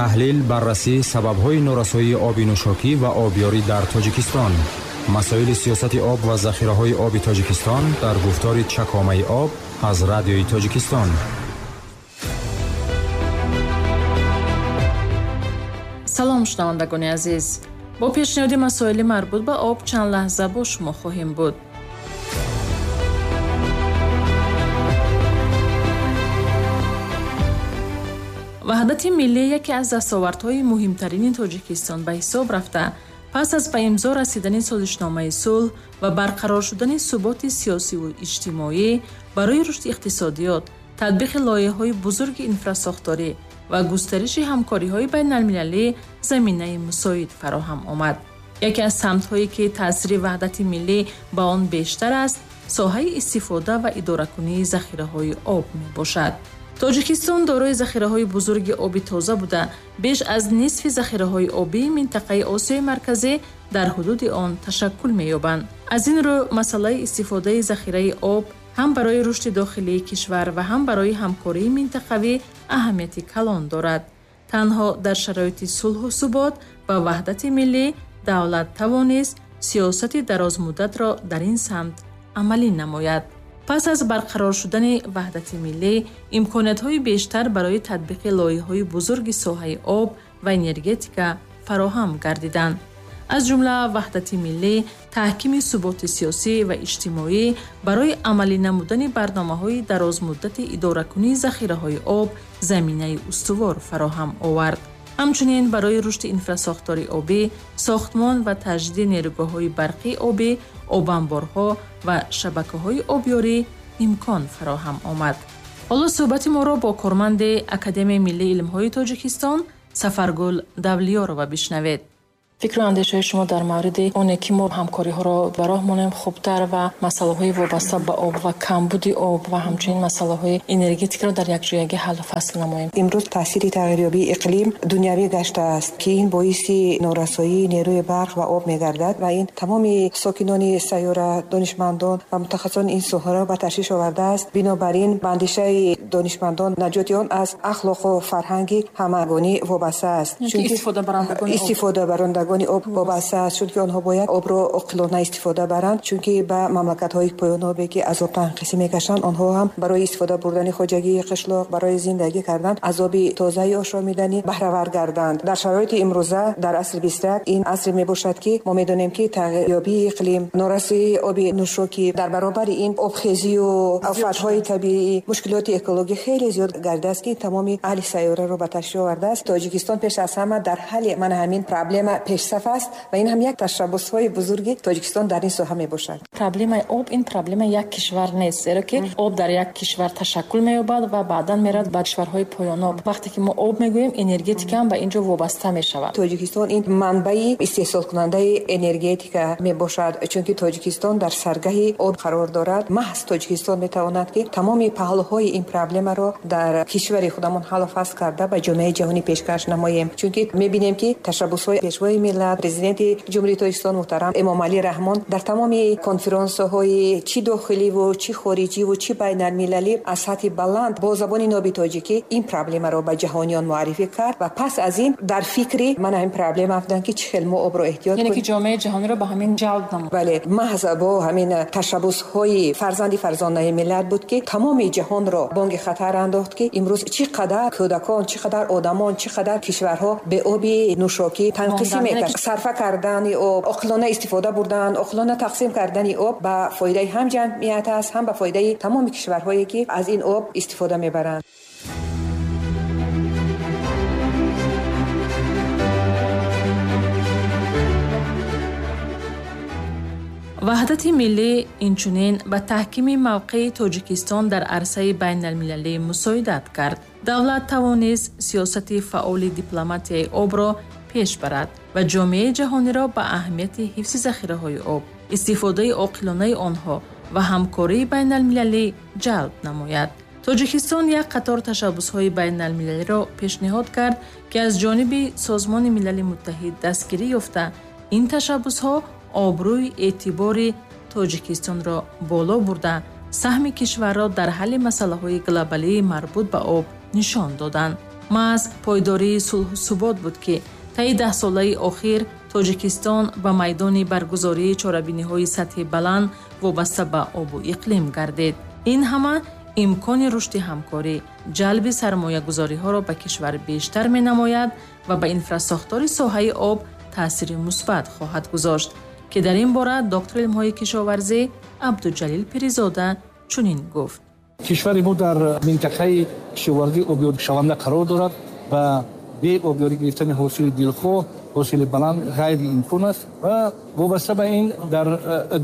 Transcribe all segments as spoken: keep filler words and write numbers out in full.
Таҳлил, баррасӣ сабабҳои норасоии оби нӯшокӣ ва обёрӣ дар Тоҷикистон. Масоили сиёсати об ва захираҳои оби Тоҷикистон дар гуфтори Чакомаи об аз Радиои Тоҷикистон. Салом, шунавандагони азиз. Бо пешниҳоди масоили марбут ба об чанд лаҳза бо шумо хоҳем буд. Ваҳдати миллӣ яке аз дастовардҳои муҳимтарини Тоҷикистон ба ҳисоб рафта, пас аз ба имзо расидани созишномаи сулҳ ва барқарор шудани суботи сиёсиву иҷтимоӣ барои рушди иқтисодиёт, татбиқи лоиҳаҳои бузурги инфрасохторӣ ва густариши ҳамкориҳои байналмилалӣ заминаи мусоид фароҳам омад. Яке аз самтҳое ки таъсири ваҳдати миллӣ ба он бештар аст, соҳаи истифода ва идоракунии захираҳои об мебошад. Тоҷикистон дорои захираҳои бузурги оби тоза буда, беш аз нисфи захираҳои обии минтақаи Осиёи Марказӣ дар ҳудуди он ташаккул меёбанд. Аз ин рӯ масъалаи истифодаи захираи об ҳам барои рушди дохилии кишвар ва ҳам барои ҳамкории минтақавӣ аҳамияти калон дорад. Танҳо дар шароити сулҳу субот ва ваҳдати миллӣ давлат тавонист сиёсати дарозмуддатро дар ин самт амалӣ намояд. Пас аз барқарор шудани ваҳдати миллӣ, имкониятҳои бештар барои татбиқи лоиҳаҳои бузурги соҳаи об ва энергетика фароҳам гардиданд. Аз ҷумла ваҳдати миллӣ, таҳкими суботи сиёсӣ ва иҷтимоӣ барои амалӣ намудани барномаҳои дарозмуддати идоракунии захираҳои об заминаи устувор фароҳам овард. Ҳамчунин барои рушди инфрасохтори обӣ, сохтмон ва таҷдиди нерӯгоҳҳои барқии обӣ, обанборҳо ва шабакаҳои обёрӣ имкон фароҳам омад. Ҳоло суҳбати моро бо корманди Академияи миллии илмҳои Тоҷикистон Сафаргул Давлиёрова бишнавед. Фикру андешаҳои шумо дар мавриди оне ки мо ҳамкориҳоро ба роҳ монем хубтар ва масъалаҳои вобаста ба об ва камбуди об ва ҳамчунин масъалаҳои энергетикаро дар якҷоягӣ ҳаллу фасл намоем. Имрӯз таъсири тағйирёбии иқлим дунявӣ гаштааст, ки ин боиси норасоии нерӯи барқ ва об мегардад ва ин тамоми сокинони сайёра, донишмандон ва мутахассисони ин соҳаро ба ташвиш овардааст. Бинобар ин ба андешаи донишмандон наҷоти он аз ахлоқу фарҳанги ҳамагонӣ вобаста аст. Чунки истифодабарандагони об вобаста аст, чунки онҳо бояд обро оқилона истифода баранд, чунки ба мамлакатҳои поёнобе ки аз об танқисӣ мекашанд, онҳо ҳам барои истифода бурдани хоҷагии қишлоқ, барои зиндагӣ кардан аз оби тозаи ошомиданӣ баҳравар гарданд. Дар шароити имрӯза, дар асри бисту як, ин асре мебошад, ки мо медонем, ки тағйирёбии иқлим, норасоии оби нӯшокӣ, дар баробари ин обхезию офатҳои табиӣ, мушкилоти экологӣ хеле зиёд гардааст, ки тамоми аҳли сайёраро ба ташвиш овардааст. Тоҷикистон пеш аз ҳама дар ҳалли мана ҳамин проблема пеш саф аст ва ин ҳам як ташаббусҳои бузурги Тоҷикистон дар ин соҳа мебошад. Проблемаи об ин проблемаи як кишвар нест, зеро ки об дар як кишвар ташаккул меёбад ва баъдан меравад ба кишварҳои поёноб. Вақте ки мо об мегӯем, энергетика ҳам ба ин ҷо вобаста мешавад. Тоҷикистон ин манбаи истеҳсолкунандаи энергетика мебошад, чунки Тоҷикистон дар саргаҳи об қарор дорад. Маҳз Тоҷикистон метавонад, ки тамоми паҳлӯҳои ин проблемаро дар кишвари худамон ҳаллу фасл карда ба ҷомеаи ҷаҳонӣ пешкаш намоем. Чунки мебинем, ки ташаббусҳои пешвои миллат, президенти Ҷумҳурии Тоҷикистон муҳтарам Эмомалӣ Раҳмон дар тамоми конференсияҳои чӣ дохиливу чӣ хориҷиву чӣ байналмилалӣ аз сатҳи баланд бо забони ноби тоҷикӣ ин проблемаро ба ҷаҳониён муаррифӣ кард ва пас аз ин дар фикри ман ҳамин проблема афтоданд, ки чӣ хел мо обро эҳтиёт кунем, яъне ки ҷомеаи ҷаҳониро ба ҳамин ҷалб намуд. Бале, маҳз бо ҳамин ташаббусҳои фарзанди фарзонаи миллат буд, ки тамоми ҷаҳонро бонги хатар андохт, ки имрӯз чӣ қадар кӯдакон, чӣ қадар одамон, чӣ қадар кишварҳо бе оби нӯшокӣ танқисӣ мекашанд. Сарфа кардани об, оқилона истифода бурдан, оқилона тақсим кардани об ба фоидаи ҳам ҷамъият аст, ҳам ба фоидаи тамоми кишварҳое, ки аз ин об истифода мебаранд. Ваҳдати миллӣ инчунин ба таҳкими мавқеи Тоҷикистон дар арсаи байналмилалӣ мусоидат кард. Давлат тавонист сиёсати фаъоли дипломатияи обро пеш барад ва ҷомеаи ҷаҳониро ба аҳамияти ҳифзи захираҳои об, истифодаи оқилонаи онҳо ва ҳамкории байналмилалӣ ҷалб намояд. Тоҷикистон як қатор ташаббусҳои байналмилалиро пешниҳод кард, ки аз ҷониби Созмони Милали Муттаҳид дастгирӣ ёфта, ин ташаббусҳо обрӯи эътибори Тоҷикистонро боло бурда, саҳми кишварро дар ҳалли масъалаҳои глобалии марбут ба об нишон доданд. Маҳз пойдории сулҳу субот буд, ки таи даҳсолаи охир Тоҷикистон ба майдони баргузории чорабиниҳои сатҳи баланд вобаста ба обу иқлим гардид. Ин ҳама имкони рушди ҳамкорӣ, ҷалби сармоягузориҳоро ба кишвар бештар менамояд ва ба инфрасохтори соҳаи об таъсири мусбат хоҳад гузошт, ки дар ин бора доктори илмҳои кишоварзӣ Абдуҷалил Пиризода чунин гуфт. Кишвари мо дар минтақаи кишоварзии обёришаванда қарор дорад ва бе обёрӣ гирифтани ҳосили дилхоҳ, ҳосили баланд ғайриимкон аст ва вобаста ба ин дар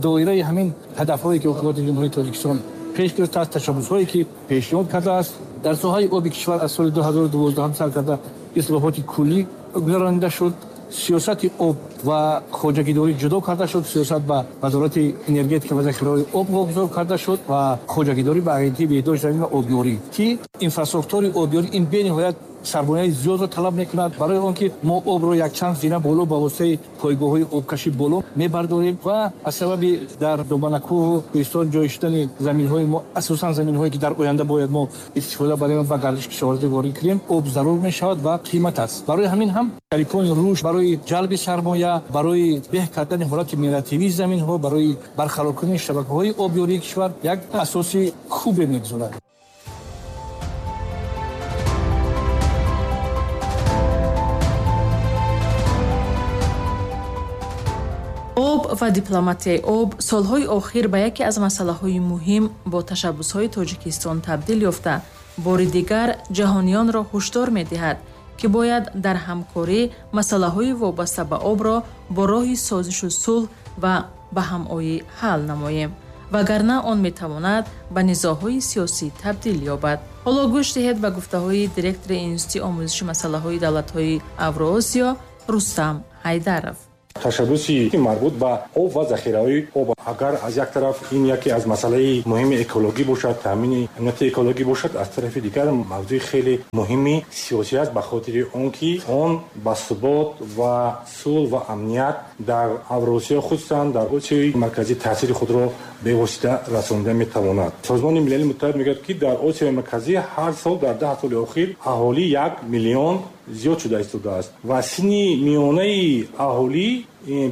доираи ҳамин ҳадафҳое ки ҳукумати Ҷумҳурии Тоҷикистон пеш гирифтааст, ташаббусҳое ки пешниҳод кардааст, дар соҳаи оби кишвар аз соли ду ҳазору дувоздаҳум сар карда ислоҳоти куллӣ гузаронида шуд. Сиёсати об ва хоҷагидорӣ ҷудо карда шуд, сиёсат ба Вазорати энергетика ва захираҳои об вогузор карда шуд ва хоҷагидорӣ ба Агентии беҳдошти замин ва обёрӣ, ки инфрасохтори обёрӣ ин бениҳоят сармояи зиёдро талаб мекунад. Барои он ки мо обро якчанд зина боло ба воситаи пойгоҳҳои обкашӣ боло мебардорем ва аз сабаби дар доманакӯҳу кӯҳистон ҷой шудани заминҳои мо, асосан заминҳое ки дар оянда бояд мо истифода барем ва гардиши кишоварзӣ ворид кунем, об зарур мешавад ва қимат аст. Барои ҳамин ҳам шарикони рушд барои ҷалби сармоя, барои беҳ кардани ҳолати мелиоративии заминҳо, барои барқарор кардани шабакаҳои обёрии кишвар як асоси хубе мегузорад. Об ва дипломатияи об солҳои охир ба яке аз масъалаҳои муҳим бо ташаббусҳои Тоҷикистон табдил ёфта, бори дигар ҷаҳониёнро ҳушдор медиҳад, ки бояд дар ҳамкорӣ масъалаҳои вобаста ба обро бо роҳи созишу сулҳ ва ба ҳамоӣ ҳал намоем, вагарна он метавонад ба низоъҳои сиёсӣ табдил ёбад. Ҳоло гӯш диҳед ба гуфтаҳои директори Институти омӯзиши масъалаҳои давлатҳои Авроосиё Рустам Ҳайдаров. Ташаббуси марбут ба об ва захираҳои об, агар аз як тараф ин яке аз масъалаи муҳими экологӣ бошад, таъмини амнияти экологӣ бошад, аз тарафи дигар мавзӯи хеле муҳими сиёсӣ аст, ба хотири он ки он ба субот ва сулҳ ва амният дар Авросиё, хусусан дар Осиёи Марказӣ таъсири худро бевосита расонида метавонад. Созмони Милали Муттаҳид мегӯяд, ки дар Осиёи Марказӣ ҳар сол дар даҳ соли охир аҳолӣ як миллион зиёд шуда истодааст ва синни миёнаи аҳолӣ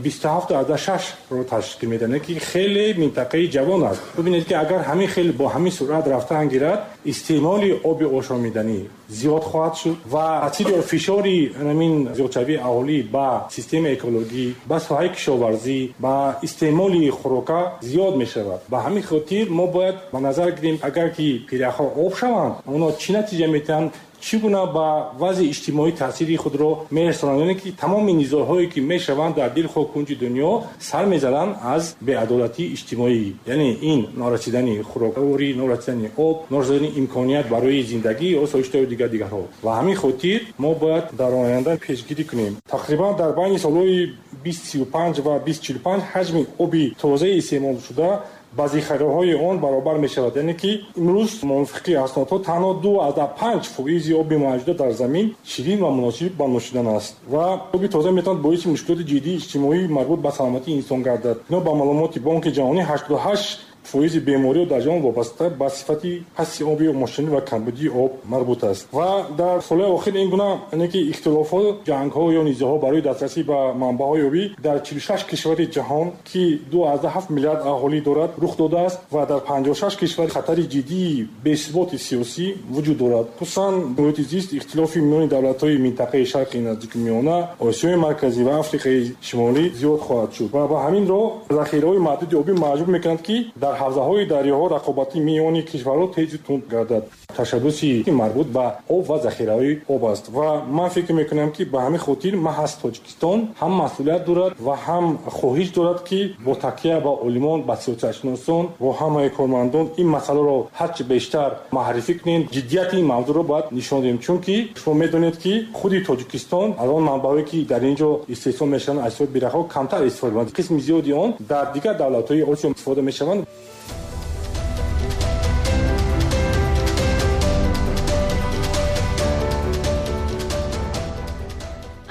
бисту ҳафт аз шаш ро ташкил медиҳад, ки хеле минтақаи ҷавон аст. Бибинед, ки агар ҳамин хел бо ҳамин суръат рафтан гирад, истеъмоли оби ошомиданӣ зиёд хоҳад шуд ва таъсири фишори ҳамин зиёдшавии аҳолӣ ба системаи экологӣ, ба соҳаи кишоварзӣ, ба истеъмоли хӯрока зиёд мешавад. Ба ҳамин хотир мо бояд ба назар гирем, агар ки пиряхҳо об шаванд, онҳо чӣ натиҷа метиҳанд, чӣ гуна ба вазъи иҷтимоӣ таъсири худро мерасонанд, яъне ки тамоми низоъҳое ки мешаванд дар дилхоҳ кунҷи дунё сар мезананд аз беадолатии иҷтимоӣ, яъне ин норасидани хӯрокворӣ, норасидани об, норасидани имконият барои зиндагӣ ё осоиштаю дигар дигарҳо. Ва ҳамин хотир мо бояд дар оянда пешгирӣ кунем. Тақрибан дар байни солҳои бист сию панҷ ва бист чилу панҷ ҳаҷми оби тозаи истеъмолшуда ба захираҳои он баробар мешавад, яъне ки имрӯз мувофиқи аснодҳо танҳо ду аз панҷ фоизи оби мавҷуда дар замин ширин ва муносиб ба нӯшидан аст ва оби тоза метавонад боиси мушкилоти ҷиддии иҷтимоӣ марбут ба саломатии инсон гардад. Бино ба маълумоти Бонки Ҷаҳонӣ, ҳаштоду ҳашт фоизи бемориҳо дар ҷаҳон вобаста ба сифати пасти оби мошинӣ ва камбудии об марбут аст. Ва дар солҳои охир ин гуна яъне ки ихтилофҳо, ҷангҳо ё низоъҳо барои дастрасӣ ба манбаъҳои обӣ дар чилу шаш кишвари ҷаҳон, ки ду аз ҳафт миллиард аҳолӣ дорад, рух додааст ва дар панҷоҳу шаш кишвар хатари ҷиддии бесуботи сиёсӣ вуҷуд дорад. Хусусан муҳити зист, ихтилофи миёни давлатҳои минтақаи Шарқи Наздики Миёна, Осиёи Марказӣ ва Африқаи Шимолӣ зиёд хоҳад шуд ва ба ҳамин роҳ захираҳои маҳдуди обӣ маҷбур мекунанд, ки дар ҳавзаҳои дарёҳо рақобати миёни кишварҳо тезу тунд гардад. Ташаббуси марбут ба об ва захираҳои об аст ва ман фикр мекунам, ки ба ҳамин хотир маҳз Тоҷикистон ҳам масъулият дорад ва ҳам хоҳиш дорад, ки бо такя ба олимон, ба сиёсатшиносон, бо ҳамаи кормандон ин масъаларо ҳарчи бештар маърифӣ кунем. Ҷиддияти ин мавзӯъро бояд нишон диҳем, чунки шумо медонед, ки худи Тоҷикистон аз он манбаъҳое ки дар ин ҷо истеҳсол мешаванд, аз ҳисоби пиряхҳо камтар истифода мебаранд. Қисми зиёди он дар дигар давлатҳои Осиё истифода мешаванд.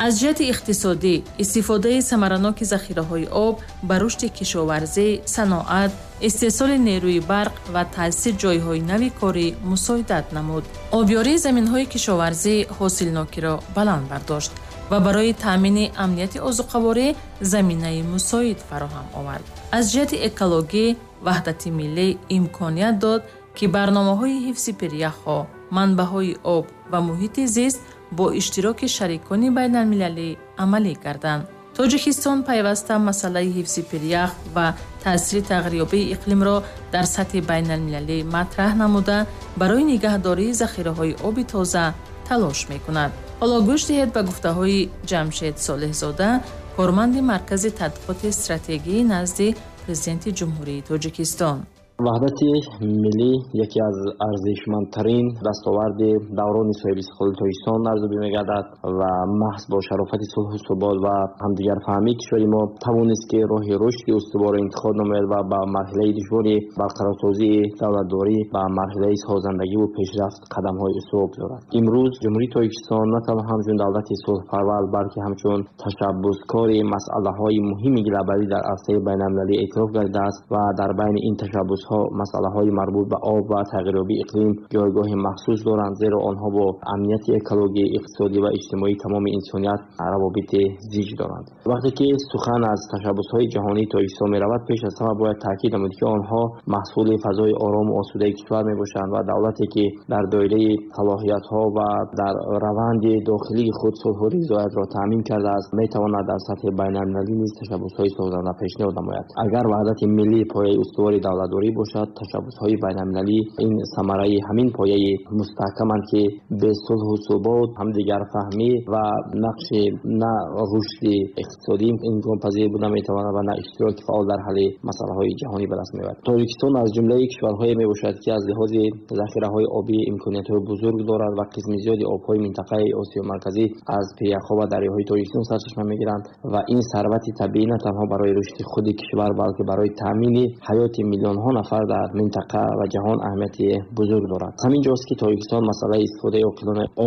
Аз ҷиҳати иқтисодӣ, истифодаи самараноки захираҳои об ба рушди кишоварзӣ, саноат, истеҳсоли нерӯи барқ ва таъсиси ҷойҳои нави корӣ мусоидат намуд. Обёрии заминҳои кишоварзӣ ҳосилнокиро баланд бардошт ва барои таъмини амнияти озуқаворӣ заминаи мусоид фароҳам овард. Аз ҷиҳати экологӣ, ваҳдати миллӣ имконият дод, ки барномаҳои ҳифзи пиряхҳо, манбаъҳои об ва муҳити зист бо иштироки шарикони байналмилалӣ амалӣ гарданд. Тоҷикистон пайваста масъалаи ҳифзи пирях ва таъсири тағйирёбии иқлимро дар сатҳи байналмилалӣ матраҳ намуда, барои нигаҳдории захираҳои оби тоза талош мекунад. Ҳоло гӯш диҳед ба гуфтаҳои Ҷамшед Солеҳзода, корманди Маркази тадқиқоти стратегии назди Президенти Ҷумҳурии Тоҷикистон. Ваҳдати миллӣ яке аз арзишмандтарин дастоварди даврони соҳибистиқлоли Тоҷикистон арзёбӣ мегардад ва маҳз бо шарофати сулҳу субот ва ҳамдигарфаҳмии кишвари мо тавонист, ки роҳи рушди устуворро интихоб намояд ва ба марҳилаи душвори барқарорсозии давлатдорӣ, ба марҳилаи созандагиву пешрафт қадамҳои устувор гузорад. Имрӯз Ҷумҳурии Тоҷикистон на танҳо ҳамчун давлати сулҳпарвар, балки ҳамчун ташаббускори масъалаҳои муҳими глобалӣ дар арсаи байналмилалӣ эътироф гардидааст ва дар байни ин ташаббусҳо масъалаҳои марбут ба об ва тағйирёбии иқлим ҷойгоҳи махсус доранд, зеро онҳо бо амнияти экологӣ, иқтисодӣ ва иҷтимоии тамоми инсоният равобити зич доранд. Вақте ки сухан аз ташаббусҳои ҷаҳонии Тоҷикистон меравад, пеш аз ҳама бояд таъкид намуд, ки онҳо маҳсули фазои орому осудаи кишвар мебошанд ва давлате, ки дар доираи салоҳиятҳо ва дар раванди дохилии худ сулҳу ризоятро таъмин кардааст, метавонад дар сатҳи байналмилалӣ низ ташаббусҳои созанда пешниҳод намояд. Агар ваҳдати миллӣ пояи устувори давлатдорӣ бошад, ташаббусҳои байналмилалӣ ин самараи ҳамин пояи мустаҳкаманд, ки бе сулҳу субот, ҳамдигарфаҳмӣ ва нақши на рушди иқтисодӣ имконпазир буда метавонад ва на иштироки фаъол дар ҳалли масъалаҳои ҷаҳонӣ ба даст меояд. Тоҷикистон аз ҷумлаи кишварҳое мебошад, ки аз лиҳози захираҳои обӣ имкониятҳои бузург дорад ва қисми зиёди обҳои минтақаи Осиёи Марказӣ аз пиряхҳо ва дарёҳои Тоҷикистон сарчашма мегиранд ва ин сарвати табиӣ на танҳо барои рушди худи кишвар, балки барои таъмини ҳаёти миллионҳо нафар дар минтақа ва ҷаҳон аҳамияти бузург дорад. Ҳамин ҷост, ки Тоҷикистон масъалаи истифодаи оқилонаи